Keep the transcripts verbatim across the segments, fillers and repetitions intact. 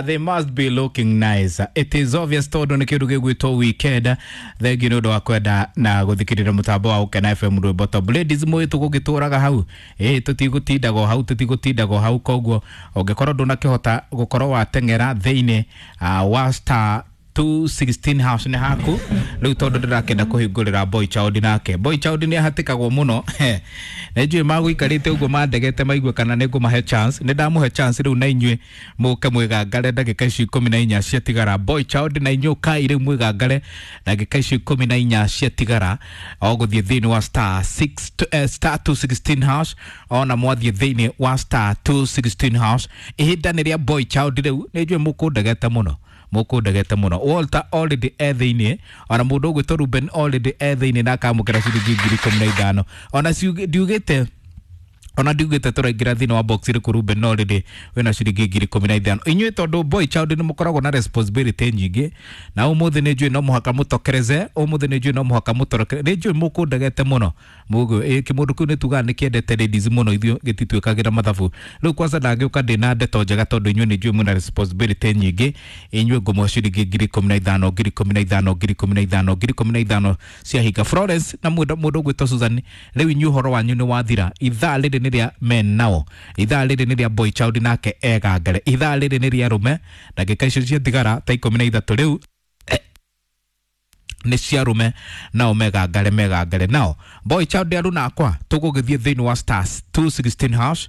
Uh, they must be looking nice. It is obvious tondu nĩ kĩndũ gĩgwĩtwo weekend. Thengiũ nĩ ũndũ wa kwenda na gũthikĩrĩria mũtambo wa Ũkena F M rwĩmbo top. Ladies mũĩ tũgũgĩtũraga hau. Ĩ tũtigũtindaga o hau, tũtigũtindaga o hau, koguo ũngĩkorwo ndũnakĩhota gũkorwo wateng'era thĩinĩ uh, wa star two sixteen house nĩ haku rĩu tondũ ndĩrakĩenda kũhingũrĩra boy child nake. Boy child nĩ ahatĩkagwo mũno. Nĩ njũĩ magũikarĩte ũguo mandegete maigue kana nĩ ngũmahe chance. Nĩ ndamũhe chance rĩu na inyuĩ mũke mwĩgangare ndagĩka ici ikũmi na inya ciatigara. Boy child na inyuĩ ũkai rĩu mwĩgangare ndagĩka ici ikũmi na inya ciatigara o gũthiĩ thĩinĩ wa star six, eh, star two sixteen house, ona mwathiĩ thĩinĩ wa star two sixteen house. Ihinda nĩ rĩa boy child rĩu, nĩ njũĩ mũkũndegete mũno, mũkũndegete mũno. Walter already e thĩinĩ, ona mũndũ ũgwĩtwo Ruben already e thĩinĩ na akamũkĩra ciringi ngiri ikũmi na ithano. Ona ndiugĩte, ona ndiugĩte tũraingĩra thĩinĩ wa box ĩrĩkũ, Ruben already wĩna ciringi ngiri ikũmi na ithano. Inyuĩ tondũ boy child nĩ mũkoragwo na responsibility nyingĩ, na ũmũthĩ nĩ njũĩ no mũhaka mũtokereze, ũmũthĩ nĩ njũĩ no mũhaka mũtorokere, nĩ njũĩ mũkũndegete mũno. Mũguo, ĩ, kĩmũndũ kĩu nĩ tugaga nĩ kĩendete ladies mũno, ithuĩ gĩtituĩkagĩra mathabu. Rĩu kwanza ndangĩũka ndĩna ndeto njega tondũ inyuĩ nĩ njũĩ mwĩna responsibility nyingĩ. Inyuĩ ngũmũhe ciringi ngiri ikũmi na ithano, ngiri ikũmi na ithano, ngiri ikũmi na ithano, ngiri ikũmi na ithano cia hinga. Florence na mũndũ, mũndũ ũgwĩtwo Susan, rĩu inyuĩ ũhoro wanyu nĩ wathira. Ithaa rĩrĩ nĩ rĩa men nao, ithaa rĩrĩ nĩ rĩa boy child nake egangare, ithaa rĩrĩ nĩ rĩa arũme. Ndagĩka icio ciatigara ta ikũmi na ithatũ rĩu nĩ cia arũme nao megangare, megangare nao. Boy child aruna akwa tũgũgĩthiĩ thĩinĩ wa stars two sixteen hash.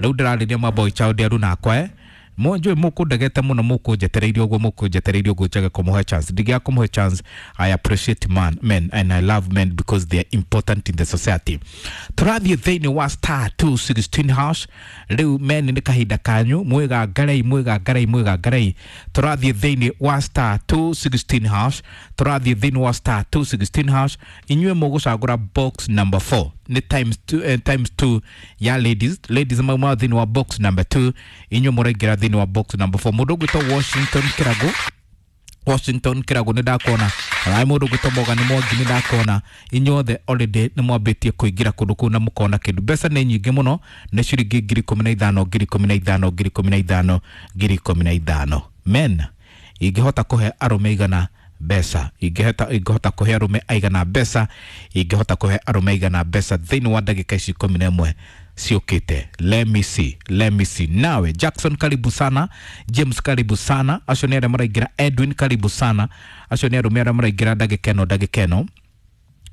Rĩu ndĩrarĩria ma boy child aruna akwa, eh. Mũnjũĩ mũkũndegete mũno, mũkũnjetereirie ũguo, mũkũnjetereirie ũguo njage kũmũhe chance. Ndingĩaga kũmũhe chance. I appreciate man, men and I love men because they are important in the society. Tũrathiĩ thĩinĩ wa star two sixteen hash. Rĩu men nĩ kahinda kanyu, mwĩgangarei, mwĩgangarei, mwĩgangarei. Tũrathiĩ thĩinĩ wa star two sixteen hash. Tũrathiĩ thĩinĩ wa star two sixteen hash. Inyuĩ mũgũcagũra box number four. Nĩ times two, eh, times two ya ladies. Ladies mauma thĩinĩ wa box number two. Inyuĩ mũraingĩra thĩinĩ wa box number four. Mũndũ ũgwĩtwo Washington Kĩragu, Washington Kĩragu nĩ ndakuona. Ona mũndũ ũgwĩtwo Morgan Mwangi nĩ ndakuona. Inyuothe already nĩ mwambĩtie kũingĩra kũndũ kũu na mũkona kĩndũ. Mbeca nĩ nyingĩ mũno, nĩ ciringi ngiri ikũmi na ithano, ngiri ikũmi na ithano, ngiri ikũmi na ithano, ngiri ikũmi na ithano. Men, ingĩhota kũhe arũme igana mbeca, ingĩhota, ingĩhota kũhe arũme aigana mbeca, ingĩhota kũhe arũme aigana mbeca thĩinĩ wa ndagĩka ici ikũmi na ĩmwe ciũkĩte. Let me see, let me see. Nawe Jackson karibu sana, James karibu sana, acio nĩ arĩa maraingĩra, Edwin karibu sana, acio nĩ arũme arĩa maraingĩra ndagĩka ĩno, ndagĩka ĩno.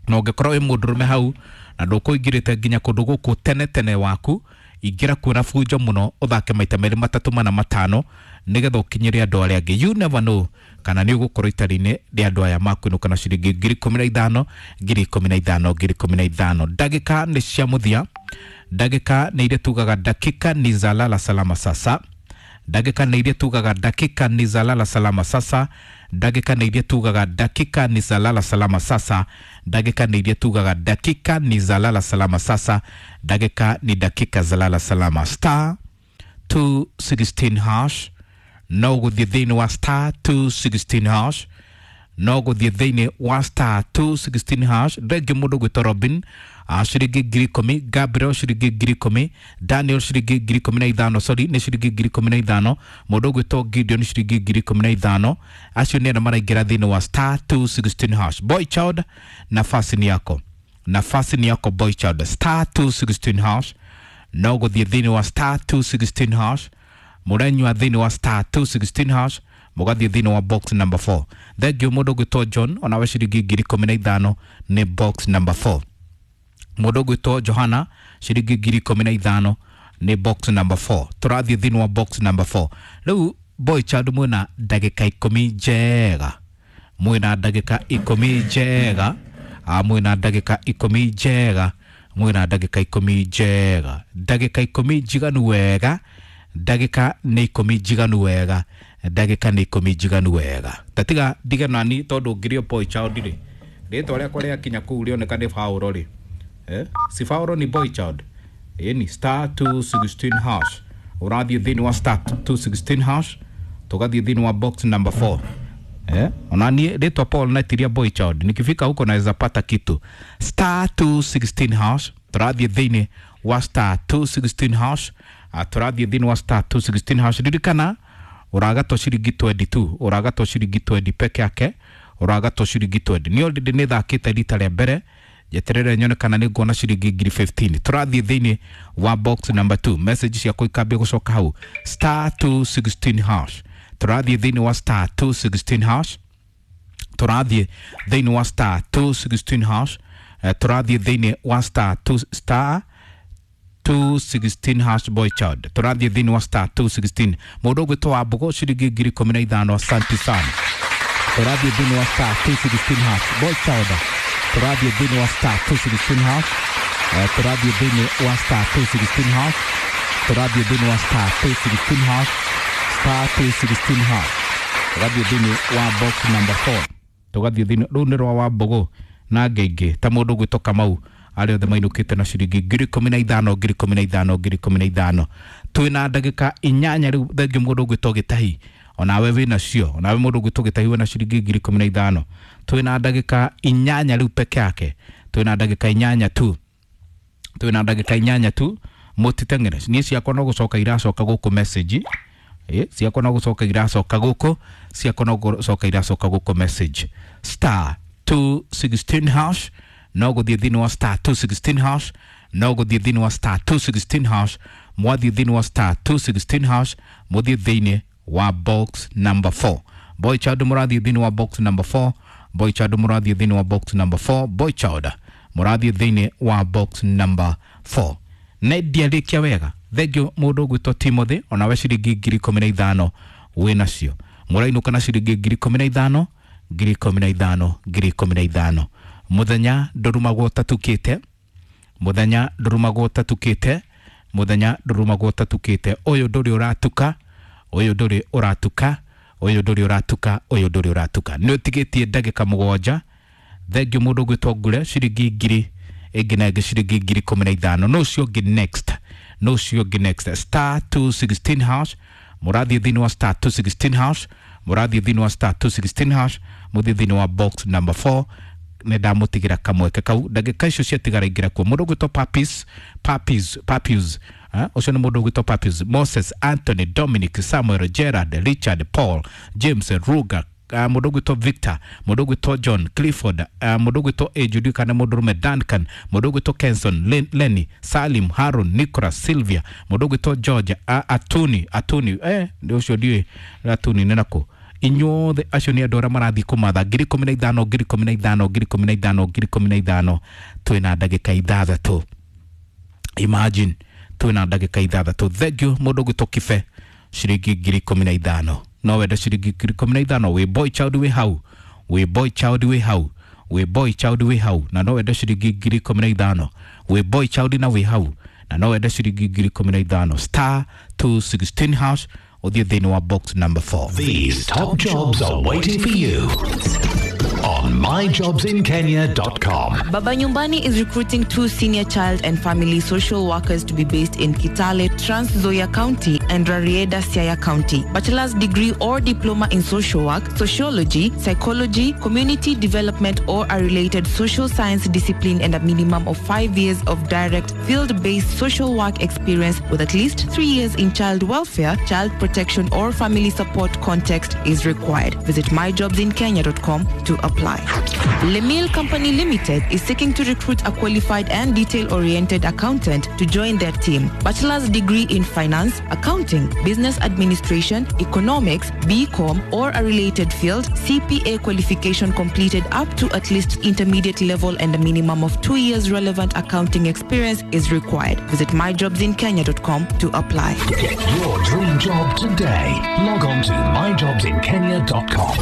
Na ũngĩkorwo wĩ mũndũrũme hau na ndũkũingĩrĩte nginya kũndũ gũkũ tene tene waku, ingĩra kuo na bunjo mũno, ũthake maita merĩ matatũ mana matano nĩgetha ũkinyĩre andũ arĩa angĩ. You never know kana nĩ ũgũkorwo itari-inĩ rĩa andũ aya makwĩnũka na ciringi ngiri ikũmi na ithano, ngiri ikũmi na ithano, ngiri ikũmi na ithano. Ndagĩka nĩ cia mũthia, ndagĩka nĩ iria tugaga dakika ni za lala salama sasa, ndagĩka nĩ iria tugaga dakika ni za lala salama sasa, ndagĩka nĩ iria tugaga dakika ni za lala salama sasa, ndagĩka nĩ iria tugaga dakika ni za lala salama sasa, ndagĩka ni dakika za lala salama. Star two sixteen hash, no gũthiĩ thĩinĩ wa star two sixteen hash, no gũthiĩ thĩinĩ wa star two sixteen hash. Rĩngĩ mũndũ gwĩtwo Robin, ah, ciringi ngiri ikũmi, Gabriel ciringi ngiri ikũmi, Daniel ciringi ngiri ikũmi na ithano, sorry, nĩ ciringi ngiri ikũmi na ithano, mũndũ ũgwĩtwo Gideon ciringi ngiri ikũmi na ithano. Acio nĩ arĩa maraingĩra thĩinĩ wa star two sixteen hash. Boy child, nafasi ni yako, nafasi ni yako boy child. Star two sixteen hash, no gũthiĩ thĩinĩ wa star two sixteen hash, mũrenyua thĩinĩ wa star two sixteen hash, mũgathiĩ thĩinĩ wa box number four. Thengiũ mũndũ ũgwĩtwo John, onawe ciringi ngiri ikũmi na ithano nĩ box number four. Mũndũ ũgwĩtwo Johana ciringi ngiri ikũmi na ithano nĩ box number four. Tũrathiĩ thĩinĩ wa box number four. Rĩu boy child mwĩna ndagĩka ikũmi njega, mwĩna ndagĩka ikũmi njega, ah, mwĩna ndagĩka ikũmi njega, mwĩna ndagĩka ikũmi njega, ndagĩka ikũmi njiganu wega, ndagĩka nĩ ikũmi njiganu wega, ndagĩka nĩ ikũmi njiganu wega. Tatiga ndige nani tondũ ngĩrio boy child rĩ, rĩtwa rĩakwa rĩakinya kũu rĩoneka nĩ Paũlo rĩ. Eh? Si Paũlo ni boy child. Ĩni star two sixteen hash. Ũrathiĩ thĩinĩ wa star two sixteen hash, tũgathiĩ thĩinĩ wa box number four. Eh? Ona niĩ rĩtwa Paul naitiria boy child. Nikifika huko naweza pata kitu. Star two sixteen hash, tũrathiĩ thĩinĩ wa star two sixteen hash. Ah, tũrathiĩ thĩinĩ wa star two sixteen hash. Ririkana Ũragatwo ciringi twenty tu, ũragatwo ciringi twenty peke yake, ũragatwo ciringi twenty. Nĩ already nĩ thakĩte rita rĩa mbere, njeterere nyone kana nĩ nguona ciringi ngiri fifteen. Tũrathiĩ thĩinĩ wa box number two, message ciakwa ikambia gũcoka hau star two sixteen hash. Tũrathiĩ thĩinĩ wa star two sixteen hash, tũrathiĩ thĩinĩ wa star two sixteen hash, eh, tũrathiĩ thĩinĩ wa star two star two sixteen hash boy child. Tũrathiĩ thĩinĩ wa star two sixteen. Mũndũ ũgwĩtwo wa Mbũgũ ciringi ngiri ikũmi na ithano, asante sana. Tũrathiĩ thĩinĩ wa star two sixteen hash boy child. Tũrathiĩ thĩinĩ wa star two sixteen hash, eh, tũrathiĩ thĩinĩ wa star two sixteen hash, tũrathiĩ thĩinĩ wa star two sixteen hash, star two sixteen hash. Tũgathiĩ thĩinĩ wa box number four. Tũgathiĩ thĩinĩ rũu nĩ rwa wa Mbũgũ na ngĩingĩ ta mũndũ ũgwĩtwo Kamau, arĩa othe mainũkĩte na ciringi ngiri ikũmi na ithano, ngiri ikũmi na ithano, ngiri ikũmi na ithano. Twĩna ndagĩka inyanya rĩu. Thengiũ mũndũ ũgwĩtwo Gĩtahi, onawe wĩnacio, onawe mũndũ ũgwĩtwo Gĩtahi wĩna ciringi ngiri ikũmi na ithano. Twĩna ndagĩka inyanya rĩu peke yake, twĩna ndagĩka inyanya tu, twĩna ndagĩka inyanya tu. Mũtiteng'ere, niĩ ciakwa no gũcoka iracoka gũkũ message, eh, ciakwa no gũcoka iracoka gũkũ, ciakwa no gũcoka iracoka gũkũ message. Star two sixteen hash, no gũthiĩ thĩinĩ wa star two sixteen hash, no gũthiĩ thĩinĩ wa star two sixteen hash. Mwathiĩ thĩinĩ wa star two sixteen hash, mũthiĩ thĩinĩ wa box number four. Boy child mũrathiĩ thĩinĩ wa box number four, boy child mũrathiĩ thĩinĩ wa box number four, boy child mũrathiĩ thĩinĩ wa box number four. Na ndiarĩkia wega, thengio mũndũ ũgwĩtwo Timothy, onawe ciringi ngiri ikũmi na ithano wĩnacio. Mũrainũka na ciringi ngiri ikũmi na ithano, ngiri ikũmi na ithano, ngiri ikũmi na ithano. Mũthenya ndũrumagwo ũtatukĩte, mũthenya ndũrumagwo ũtatukĩte, mũthenya ndũrumagwo ũtatukĩte. Ũyũ ndũrĩ ũratuka, ũyũ ndũrĩ ũratuka, ũyũ ndũrĩ ũratuka, ũyũ ndũrĩ ũratuka. Nĩ ũtigĩtie ndagĩka mũgwanja. Thengio mũndũ ũgwĩtwo Ngure, ciringi ngiri ĩngĩ na ĩngĩ ciringi ngiri ikũmi na ithano. No ũcio ũngĩ next, no ũcio ũngĩ next. Star two sixteen hash, mũrathiĩ thĩinĩ wa star two sixteen hash, mũrathiĩ thĩinĩ wa star two sixteen hash, mũthiĩ thĩinĩ wa box number four. Nĩ ndamũtigĩra kamweke kau, ndagĩka icio ciatigara ingĩra kuo. Mũndũ ũgwĩtwo Papis, Papis, Papis, eh, ũcio nĩ mũndũ ũgwĩtwo Papis, Moses, Anthony, Dominic, Samuel, Gerard, Richard, Paul, James, Ruga, uh, mũndũ ũgwĩtwo Victor, mũndũ ũgwĩtwo John, Clifford, uh, mũndũ ũgwĩtwo Ejudu kana mũndũ ũrũme Duncan, mũndũ ũgwĩtwo Kenson, Len, Lenny, Salim, Harun, Nicholas, Sylvia, mũndũ ũgwĩtwo George, uh, Atuni, Atuni, eh, ũcio ndiũĩ Atuni nĩ nakũ. Inyuothe acio nĩ andũ arĩa marathiĩ kũmatha ngiri ikũmi na ithano, ngiri ikũmi na ithano, ngiri ikũmi na ithano, ngiri ikũmi na ithano. Twĩna ndagĩka ithathatũ, imagine twĩna ndagĩka ithathatũ. Thank you mũndũ ũgwĩtwo Kibe, ciringi ngiri ikũmi na ithano. No wende ciringi ngiri ikũmi na ithano? Wĩ boy child wĩ hau, wĩ boy child wĩ hau, wĩ boy child wĩ hau, na no wende ciringi ngiri ikũmi na ithano? Wĩ boy child na wĩ hau na no wende ciringi ngiri ikũmi na ithano? Star two sixteen hash, ũthiĩ thĩinĩ wa box number four. These top jobs are waiting for you on my jobs in kenya dot com. Baba Nyumbani is recruiting two senior child and family social workers to be based in Kitale, Trans Nzoia County and Rarieda, Siaya County. Bachelor's degree or diploma in social work, sociology, psychology, community development or a related social science discipline, and a minimum of five years of direct field-based social work experience with at least three years in child welfare, child protection or family support context is required. Visit my jobs in kenya dot com to apply. Lemil Company Limited is seeking to recruit a qualified and detail-oriented accountant to join their team. Bachelor's degree in finance, accounting, business administration, economics, B Com or a related field, C P A qualification completed up to at least intermediate level and a minimum of two years relevant accounting experience is required. Visit my jobs in kenya dot com to apply. Get your dream job today. Log on to my jobs in kenya dot com.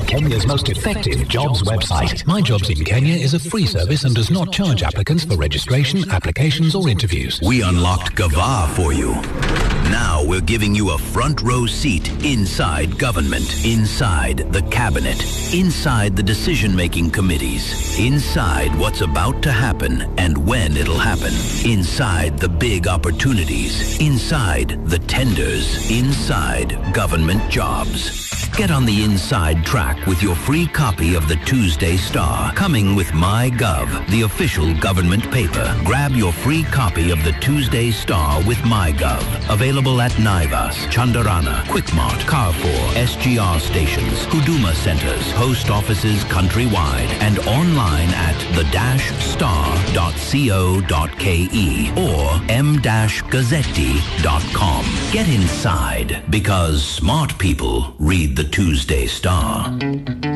Kenya's most effective jobs website. My Jobs in Kenya is a free service and does not charge applicants for registration, applications or interviews. We unlocked Gava for you. Now we're giving you a front row seat inside government, inside the cabinet, inside the decision-making committees, inside what's about to happen and when it'll happen, inside the big opportunities, inside the tenders, inside government jobs. Get on the inside track with your free copy of the Tuesday Star, coming with MyGov, the official government paper. Grab your free copy of the Tuesday Star with MyGov. Available at Naivas, Chandarana, Quickmart, Carrefour, S G R stations, Huduma centers, post offices countrywide, and online at the dash star dot co dot ke or m dash gazzetti dot com. Get inside, because smart people read the Tuesday Star.